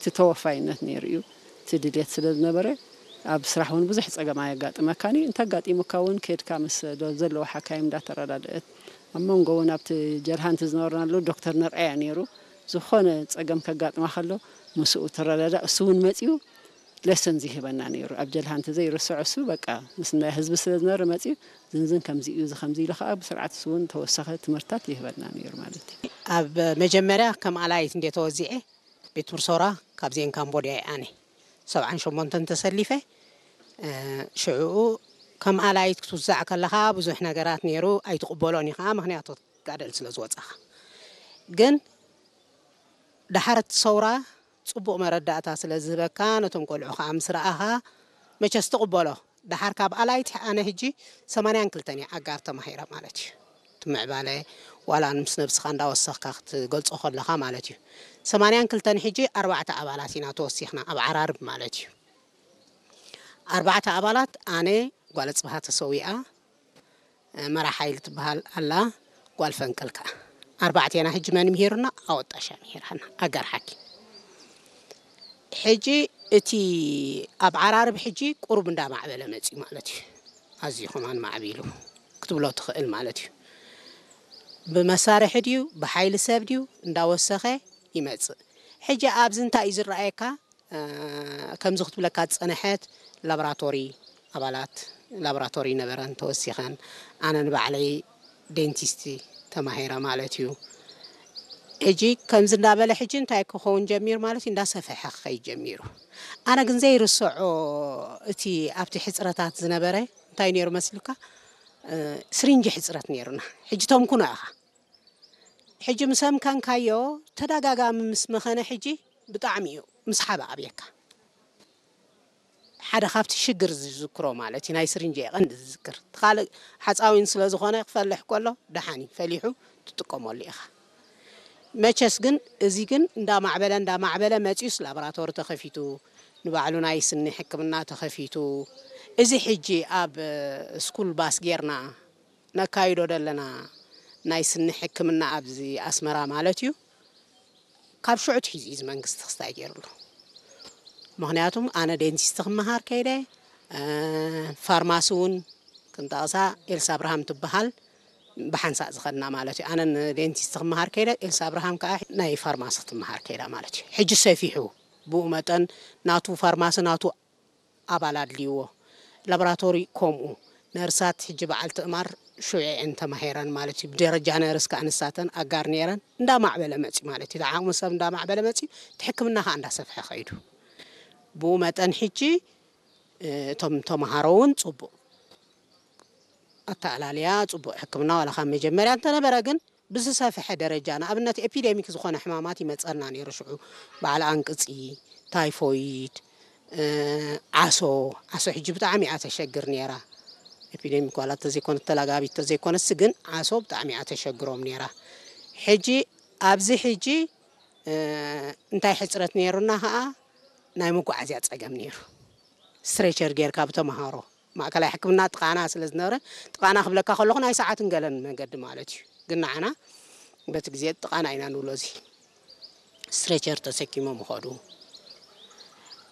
እቲ ተወፋይነት ነይሩ እዩ። እቲ ድልየት ስለ ዝነበረ ኣብ ስራሕ እውን ብዙሕ ጸገም ኣየጋጥመካን እዩ። እንተጋጢሙካ እውን ከድካ ምስ ዶ-፣ ዘለዉ ሓካይም እንዳተረዳድእት፣ ኣብ መንጎ እውን ኣብቲ ጀልሃንቲ ዝነበርናሉ ዶክተር ነርኣያ ነይሩ። ዝኾነ ጸገም ከጋጥማ ከሎ ምስኡ ትረዳዳእ። እሱ እውን መጺኡ ለሰን ዝህበና ነይሩ። ኣብ ጀልሃንቲ ዘይርስዖ እሱ በቃ ምስ ናይ ህዝቢ ስለ ዝነበረ መጺኡ ዝንዝን ከምዚ እዩ፣ እዚ ከምዚ ኢሉ ከኣ ብስርዓት እሱ እውን ተወሳኺ ትምህርታት ይህበና ነይሩ ማለት እዩ። ኣብ መጀመርያ ከም ኣላይት እንደ ተወዚዐ ቤት ትምህርቲ ሰውራ ካብዚኤን ካምቦድያ እየ ኣነ ሰብዓን ሸሞንተን ተሰሊፈ። እ፣ ሽዕኡ ከም ኣላይት ክትውዛዕ ከለኻ ብዙሕ ነገራት ነይሩ፣ ኣይትቕበሎን ኢኻ፣ ምኽንያቱ ጋደል ስለ ዝወጻኻ። ግን ደሓር እቲ ሰውራ ጽቡቕ መረዳእታ ስለ ዝህበካ፣ ነቶም ቆልዑ ኸኣ ምስ ረኣኻ፣ መቸስ ትቕበሎ። ደሓር ካብ ኣላይት ኣነ ሕጂ ሰማንያን ክልተን እየ ኣጋር ተማሂረ ማለት እዩ። እቲ ምዕባለ ዋላ ምስ ነብስኻ እንዳወሰኽካ ክትገልጾ ከለኻ ማለት እዩ። ሰማንያን ክልተን ሕጂ ኣርባዕተ ኣባላት ኢና ተወሲኽና ኣብ ዓራርብ ማለት እዩ። ኣርባዕተ ኣባላት ኣነ፣ ጓል ጽብሃ ተሰዊኣ፣ መራ ሓይሊ ትበሃል ኣላ፣ ጓል ፈንቅል ከኣ። ኣርባዕቴና ሕጂ መን ምሂሩና? ኣወጣሻ ምሂራና፣ ኣጋር ሓኪም። ሕጂ እቲ ኣብ ዓራርብ ሕጂ ቁሩብ እንዳማዕበለ መጽዩ ማለት እዩ። ኣዝዩ ከማን ማዕቢሉ ክትብሎ ትኽእል ማለት እዩ። ብመሳርሒ ድዩ፣ ብሓይሊ ሰብ ድዩ፣ እንዳወሰኸ ይመጽእ። ሕጂ ኣብዚ እንታይ እዩ ዝረኣየካ? እ፣ ከምዚ ክትብለካ ዝጸንሐት ላቦራቶሪ ኣባላት ላቦራቶሪ ነበረን ተወሲኸን። ኣነ ንባዕለይ ዴንቲስቲ ተማሂረ ማለት እዩ። ሕጂ ከምዚ እንዳበለ ሕጂ እንታይ ክኸውን ጀሚሩ ማለት እዩ፣ እንዳሰፍሐ ክኸይድ ጀሚሩ። ኣነ ግን ዘይርስዖ እቲ ኣብቲ ሕጽረታት ዝነበረ እንታይ ነይሩ መስልካ? እ፣ ስሪንጂ ሕጽረት ነይሩና። ሕጂ ተምኩኖ ኢኻ። ሕጂ ምስ ኣምከንካዮ ተደጋጋሚ ምስ መኸነ ሕጂ ብጣዕሚ እዩ ምስሓብ ኣብየካ። ሓደ ካብቲ ሽግር ዝዝክሮ ማለት እዩ፣ ናይ ስሪንጂ እየ ቀንዲ ዝዝክር። እቲ ካልእ ሓፃዊን ስለ ዝኾነ ክፈልሕ ከሎ ደሓን እዩ፣ ፈሊሑ ትጥቀመሉ ኢኻ። መቸስ ግን እዚ ግን እንዳማዕበለ እንዳማዕበለ መፂኡስ ላቦራቶሪ ተኸፊቱ፣ ንባዕሉ ናይ ስኒ ሕክምና ተኸፊቱ። እዚ ሕጂ ኣብ ስኩል ባስ ጌርና ነካይዶ ዘለና ናይ ስኒ ሕክምና ኣብዚ ኣስመራ ማለት እዩ። ካብ ሽዑ ትሒዙ እዩ እዚ መንግስቲ ክስታይ ገይሩሉ። ምኽንያቱም ኣነ ዴንቲስት ክመሃር ከይደ፣ እ፣ ፋርማሲ እውን ክንጠቕሳ ኤልሳ ኣብርሃም ትበሃል ብሓንሳእ ዝኸድና ማለት እዩ። ኣነ ንዴንቲስት ክመሃር ከይደ፣ ኤልሳ ኣብርሃም ከዓ ናይ ፋርማሲ ክትመሃር ከይዳ ማለት እዩ። ሕጂ ሰፊሑ ብኡ መጠን ናቱ ፋርማሲ ናቱ ኣባል ኣድልይዎ። ላቦራቶሪ ከምኡ። ነርሳት ሕጂ በዓል ትእማር ሽዑ እየን ተማሂረን ማለት እዩ። ብደረጃ ነርስ ከዓ ንሳተን ኣጋር ነይረን። እንዳማዕበለ መፅዩ ማለት እዩ። እቲ ዓቕሚ ሰብ እንዳማዕበለ መፅዩ፣ እቲ ሕክምና ከዓ እንዳሰፍሐ ከይዱ። ብኡ መጠን ሕጂ፣ እ፣ እቶም ተምሃሮ እውን ፅቡቕ ኣተኣላልያ፣ ፅቡቕ ሕክምና ዋላ ካብ መጀመርያ እንተነበረ ግን ብዝሰፍሐ ደረጃ፣ ንኣብነት ኤፒደሚክ ዝኾነ ሕማማት ይመፀና ነይሩ። ሽዑ በዓል ኣንቅፂ፣ ታይፎይድ፣ እ፣ ዓሶ፣ ዓሶ ሕጂ ብጣዕሚ እያ ተሸግር ነይራ። ኤፒደሚክ ዋላ ተዘይኮነ ተላጋቢት ተዘይኮነስ ግን ዓሶ ብጣዕሚ እያ ተሸግሮም ነይራ። ሕጂ ኣብዚ ሕጂ፣ እ፣ እንታይ ሕፅረት ነይሩና ከዓ ናይ መጓዓዝያ ፀገም ነይሩ። ስትሬቸር ጌርካ ብተምሃሮ ማእከላይ ሕክምና ጥቓና ስለ ዝነበረ፣ ጥቓና ክብለካ ከለኹ ናይ ሰዓትን ገለን መገዲ ማለት እዩ። ግን ንዓና በቲ ግዜ ጥቓና ኢና ንብሎ። እዚ ስትሬቸር ተሰኪሞም ይኸዱ።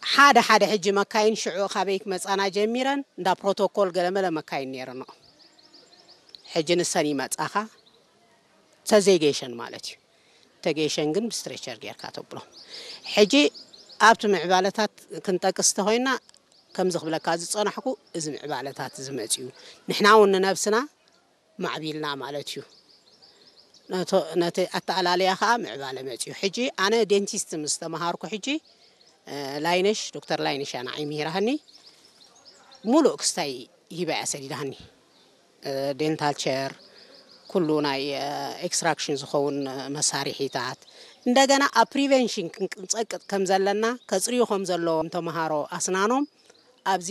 ሓደ ሓደ ሕጂ መካይን ሽዑ ካበይ ክመጻና ጀሚረን፣ እንዳ ፕሮቶኮል ገለመለ መካይን ነይረንኦ። ሕጂ ንሰን ይመጻኻ፣ ተዘይገይሸን ማለት እዩ። ተገይሸን ግን ብስትሬቸር ጌርካ ተብሎ። ሕጂ ኣብቲ ምዕባለታት ክንጠቅስ እንተኾይና፣ ከምዚ ክብለካ ዝጸናሕኩ፣ እዚ ምዕባለታት እዚ መጺኡ፣ ንሕና እውን ንነብስና ማዕቢልና ማለት እዩ። ነቶ-፣ ነቲ ኣተኣላልያ ኸኣ ምዕባለ መጺኡ። ሕጂ ኣነ ዴንቲስት ምስ ተመሃርኩ ሕጂ፣ እ፣ ላይነሽ፣ ዶክተር ላይነሽ እያ ንዓይ ምሂራህኒ። ሙሉእ ክስታይ ሂባ እያ ሰዲዳኒ። እ፣ ዴንታል ቸር፣ ኩሉ ናይ፣ እ፣ ኤክስትራክሽን ዝኸውን፣ እ፣ መሳርሒታት። እንደገና ኣብ ፕሪቨንሽን ክንጸቅጥ ከም ዘለና፣ ከጽርዩ ከም ዘለዎም ተምሃሮ ኣስናኖም ኣብዚ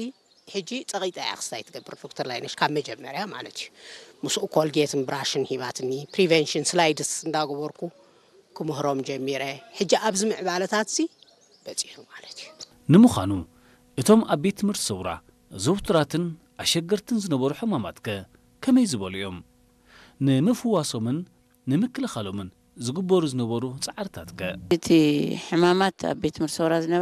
ሕጂ ጸቒጣ እያ ክስታይ ትገብር ዶክተር ላይነሽ፣ ካብ መጀመርያ ማለት እዩ። ምስኡ ኮልጌትን ብራሽን ሂባትኒ፣ ፕሪቨንሽን ስላይድስ እንዳገበርኩ ክምህሮም ጀሚረ። ሕጂ ኣብዚ ምዕባለታት እዚ በጺሑ ማለት እዩ። ንምዃኑ፣ እቶም ኣብ ቤት ትምህርቲ ሰውራ ዝውቱራትን ኣሸገርትን ዝነበሩ ሕማማትከ ከመይ ዝበሉ እዮም? ንምፍዋሶምን ንምክልኻሎምን ዝግበሩ ዝነበሩ ጻዕርታት ከ? እቲ ሕማማት ኣብ ቤት ትምህርቲ ሰውራ ዝነበረ